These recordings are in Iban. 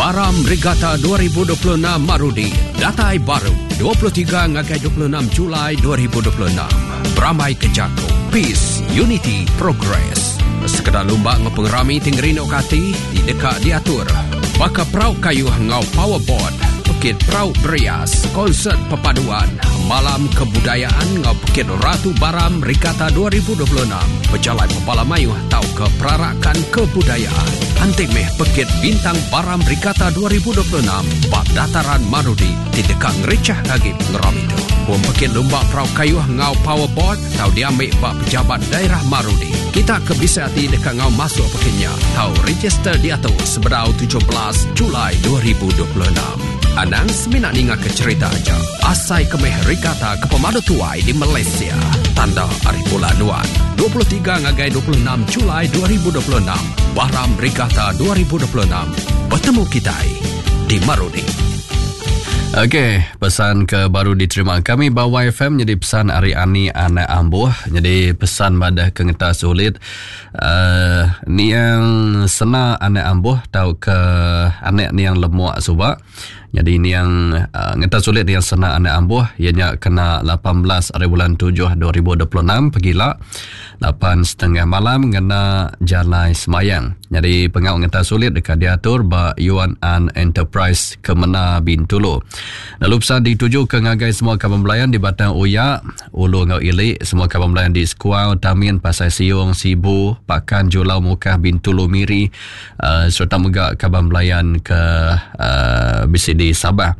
Baram Regatta 2026 Marudi datai baru 23 ngagai 26 Julai 2026. Berambai ke jaku Peace, Unity, Progress. Sekeda lumba enggau pengerami ti ngerinduka ati ti deka diatur baka perau kayuh enggau powerboat, pekit perau berias, konsert perpaduan, malam kebudayaan enggau pekit Ratu Baram Regatta 2026, pejalai bebala mayuh tauka perarakan kebudayaan. Anti meh pekit Bintang Baram Regatta 2026 ba Dataran Marudi ti deka ngerichah agi pengerami tu. Pom pekit lumba perau kayuh enggau powerboat tau diambi ba Pejabat Daerah Marudi. Kita ke bisi ati deka enggau masuk pekit nya tau register diatu sebedau 17 Julai 2026. Anang semina ningaka cherita aja. Asai ke meh regatta ke pemadu tuai di Malaysia. Tanda ari bulan nuan. 23 ngagai 26 Julai 2026. Baram Regatta 2026. Betemu kitai di Marudi. Okey, pesan ke baru diterima kami ba YFM jadi pesan ari Ani anak Ambuh. Jadi pesan madah ke ngetas ulit uh, niang sena anak ambuh tau ke anak niang lemuk suba. Jadi niang uh, ngeta sulit niang sena anak ambuh ianya kena 18 hari bulan 7 2026 pegila 8.30 malam ngena jalai semayang. Jadi pengau ngeta sulit dekat diatur ba Yuan An Enterprise Kemena Bintulu. Lalu pesan dituju ke ngagai semua kaban belayan di Batang Uya, Ulu enggau ili, semua kaban belayan di Sekuau, Tamin, Pasai Siong, Sibu, Pakan, Julau, Mukah, Bintulu, Miri uh, sereta mega kaban belayan ke uh, bisi di Sabah.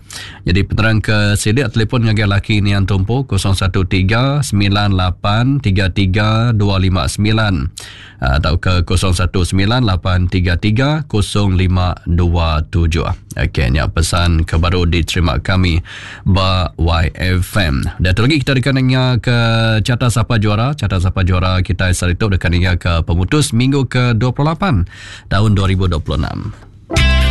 Jadi penerang ke silik telefon ngagai laki Nian Tumpu 013 98 33 259. tauka 0198330527. Okey, nya pesan ke baru diterima kami ba YFM. Dan tu lagi kita deka ninga ke carta sapa juara, carta sapa juara kita sehari tu deka ninga ke pemutus minggu ke 28 tahun 2026.